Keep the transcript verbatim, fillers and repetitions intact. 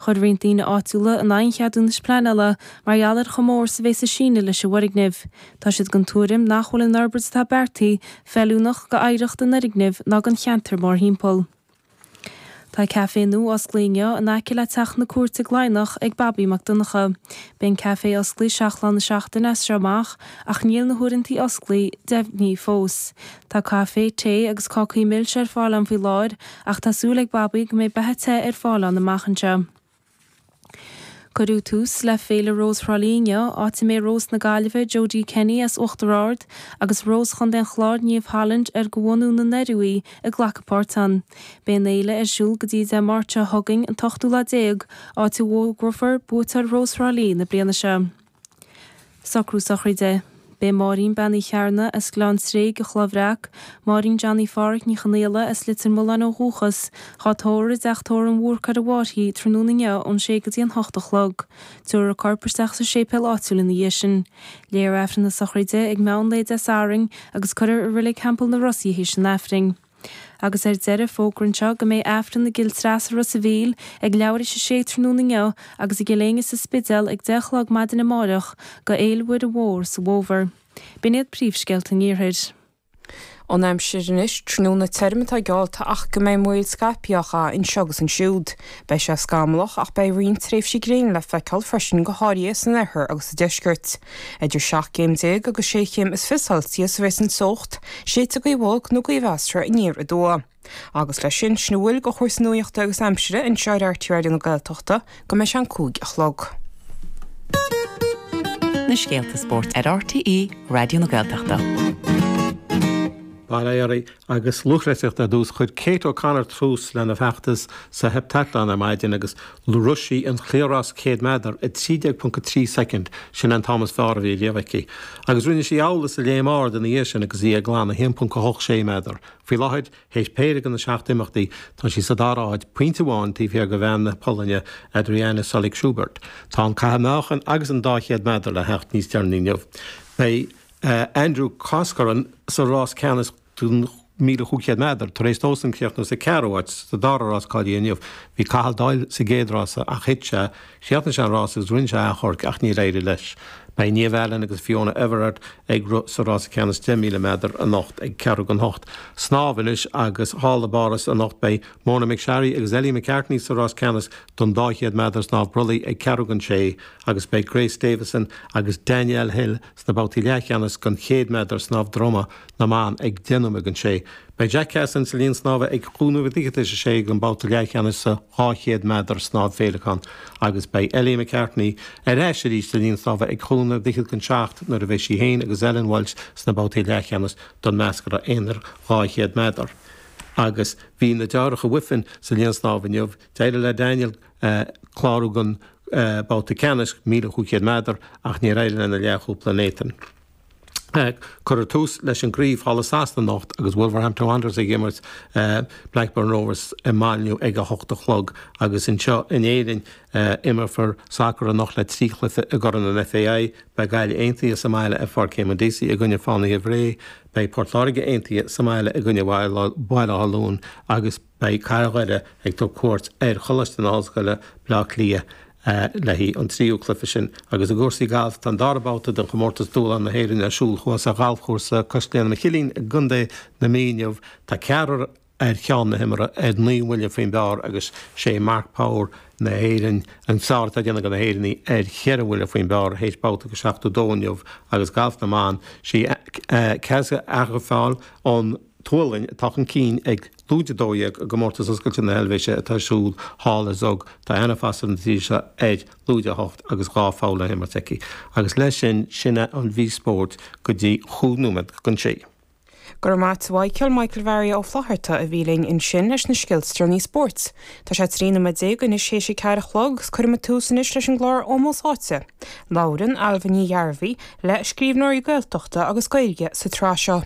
Chuir roinnt daoine áitiúla in aghaidh an cheadúnais pleanála mar gheall ar chomh mór is a bheas an síneadh leis an bhfoirgneamh. Tá siad den tuairim nach bhfuil an fhorbairt atá beartaithe feiliúnach go oidhreacht an fhoirgnimh ná don cheantar mórthimpeall. Tá caifé nua osclaithe inniu in aice le Teach na Cúirte i gCladhnach ag Babaí Mac Donncha. Beidh an caifé osclaithe seacht lá na seachtaine as seo amach ach níl na huaireanta osclaithe deimhnithe fós. Tá caife, tae agus cácaí milse ar fáil ann faoi láthair ach tá súil ag Babaí go mbeidh beatha te ar fáil ann amach anseo. Cuireadh tús le Féile Rós Thrá Lí inniu, áit a mbeidh Rós na Gaillimhe, Jodie Kenny as Uachtar Ard agus Rós Chontae an Chláir, Niamh Holland, ar de bhunú na nDoirí í, ag glacadh páirt ann. Beidh an fhéile ar siúl go dtí Dé Máirt seo chugainn, an t-ochtú lá déag, áit a bhfógrófar buaiteoir Rós Thrá Lí na bliana seo. Socrú sochraide. Beidh Máirín Bean Uí Chearna as Gleann Tréig i Chloich Bhreac, Máirín Johnny Pháraic Ní Chonaola as Leitir Mealláin ó dhúchas, dhá tórramh i dTeach Tórraimh an Bhúrcaigh ar an bhFairche tráthnóna inniu ón sé go dtí an hocht a chlog. Tabharfar a corp isteach sa séipéal áitiúil ina dhiaidh sin. Léifear Aifreann na sochraide ag meán lae Dé Sathairn agus cuirfear i Reilig Theampall na Ros í théis an Aifrinn. Agus ar deireadh, fógra anseo go mbeidh Aifreann i gCill Treasa Ros a' Mhíl ag leathuair théis a sé tráthnóna inniu agus i gCill Éinne sa Spidéal ag deich a chlog maidin amárach go Fhéile Mhuire Mhór sa bhFómhar. B'in iad príomhscéalta an Iarthair. An aimsir anois, tráthnóna tirim atá geallta ach go mbeidh múraíl scaipthe á chaitheamh anseo agus ansiúd. Beidh sé scamallach ach beidh roinnt tréimhsí gréine le feiceáil freisin go háirithe san oirthear agus sa deisceart. Idir seacht gcéim déag agus sé chéim is fiche Celsius a bheas an teocht, séidfidh gaoth bhog nó gaoth mheasartha aniar aduaidh. Agus leis sin, sin a bhfuil de chúrsaí nuachta agus aimsire anseo ar RTÉ Raidió na Gaeltachta go mbeidh sé an cúig a chlog. Na scéalta spóirt ar RTÉ Raidió na Gaeltachta. Bail ó Dhia oraibh agus lúthchleasaíocht ar dtús. Chuir Kate O'Connor tús lena feachtas sa heipteatlón ar maidin agus rith sí an chliathrás céad méadar i trí déag ponc a trí soicind, sin an t-am is fearr a bhí riamh aici. Agus rinne sí amhlaidh sa léim ard ina dhiaidh sin agus í ag glanadh a haon ponc a hocht sé méadar. Faoi láthair, théis péire de na seacht imeachtaí, tá sí sa dara háit, pointe amháin taobh thiar de bhean na Polainne, Adrianna Solik-Schubert. Tá an caitheamh meáchain agus an dá chéad méadar le theacht níos deireanaí inniu. Beidh Andrew Coscoran sa rás ceannais don míle chúig chéad méadar tar éis dósan críochnú sa ceathrú háit sa dara rás cáilithe inniu. Bhí Cathal Doyle sa gcéad rása ach thit sé. Chríochnaigh sé an rás agus rinne sé achomharc ach níor éirigh leis. Beidh Niamh Allen agus Fiona Everard ag rith sa rása ceannais deich míle méadar anocht ag ceathrú don hocht. Snámh anois agus thall i bPáras anocht beidh Mona McSharry agus Ellie McCartney sa rás ceannais don dá chéad méadar snámh brollaigh ag ceathrú don sé agus beidh Grace Davison agus Danielle Hill sna babhtaí leathcheannais don chéad méadar snámh droma na mban ag deich nóiméad don sé. Beidh Jack Cassin sa linn snámha ag cúig nóiméad fichead tar éis a sé don babhta leathcheannais sa dhá chéad méadar snámh féileacán agus beidh Ellie McCartney ar ais arís sa linn snámha ag cúig nóiméad fichead don seacht nuair a bheidh sí féin agus Ellen Walshe sna babhtaí leathcheannais don meascra aonair dhá chéad méadar. Agus bhí na deartháireacha Wiffen sa linn snámha inniu. D'éirigh le Daniel clárú don babhta ceannais, míle chúig chéad méadar, ach níor éirigh lena leathchúpla Nathan. Cuirfear tús leis an gcraobh thall i Sasana anocht agus Wolverhampton Wanderers ag imirt Blackburn Rovers i Molineux ag a hocht a chlog agus anseo in Éirinn imreofar sacar anocht le trí chluiche i gCorn an FAI. Beidh Gaillimh Aontaithe sa mbaile ar Pháirc Éamonn Deacy i gcoinne Fánaithe Bhré, beidh Port Láirge Aontaithe sa mbaile i gcoinne Bhaile Átha Luain agus beidh Cathair Dhoire ag tabhairt cuairt ar Choláiste na hOllscoile, Baile Átha Cliath. le haghaidh an tríú cluiche sin. Agus i gcúrsaí gailf, tá an dara babhta den chomórtas Dúshlán na hÉireann ar siúl thuas ar ghalfchúrsa cois Gleanna Mhichílín i gContae na Mí inniu. Tá ceathrar ar cheann na himeartha ar naoi mbuille faoin bpar agus sé Mark Power na hÉireann an fearr atá ag déanamh de na hÉireannaigh ar cheithre bhuille faoin bpar théis babhta de seachtó dó inniu agus galf na mban, sí Kaisa Agervall ón tSualainn atá chun cinn ag lúide a dó dhéag i gComórtas Oscailte na hEilvéise atá ar siúl thall i Zug. Tá Anna Foster na tíre seo ar lúide a hocht agus dhá pholl le himirt aici. Agus leis sin, sin é an mhír spóirt go dtí chúig nóiméad don sé. Go raibh maith a't a Mhichael, Michael Mhary Ó Flatharta a bhí linn ansin leis na scéalta is deireanaí spóirt. Tá sé trí nóiméad déag anois théis a ceathair a chlog agus cuirfimid tús anois leis an gclár Ómós Áite. Labhrann Ailbhe Ní Ghearbhuigh le scríbhneoirí Gaeltachta agus Gaeilge sa tsraith seo.